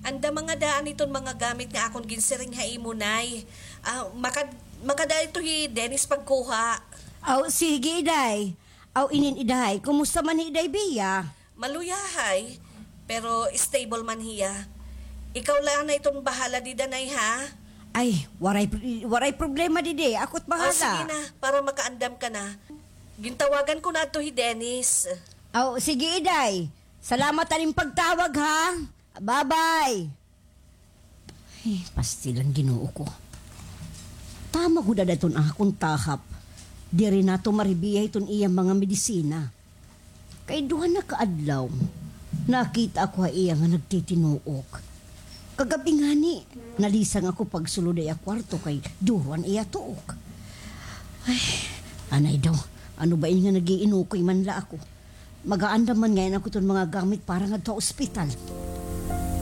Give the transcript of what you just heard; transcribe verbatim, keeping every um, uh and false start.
Andama ngada daan iton mga gamit nga akon ginsiring ha imo, Nay. Ah, makad-, makada ito hi Dennis pagkuha. Aw, sige, Iday. Aw, inin, Iday, kumusta man hi Iday Bia? Maluya, Hay. Pero stable man hiya. Ikaw la na iton bahala dida, Nay, ha? Ay, waray pr-, waray problema didi. Ako't bahala. Aw, sige na, para makaandam ka na. Gintawagan ko na adto hi Dennis. Aw, sige, Iday. Salamat han im pagtawag, ha? Bye-bye. Ay, pastilan, Ginoo ko. Tama gud ada iton akon tahap. Diri nato maribiya iton iya mga medisina. Kay duha na ka adlaw, nakita ako ha iya nga nagtitinuok. Kagab-i ngani, nalisang ako pagsulod ha iya kwarto kay duro an iya tuok. Ay, anay daw, ano ba ini nga nag-iinukoy man la ako? Mag-aandam man ngay-an ako iton mga gamit para ngadto ha ospital.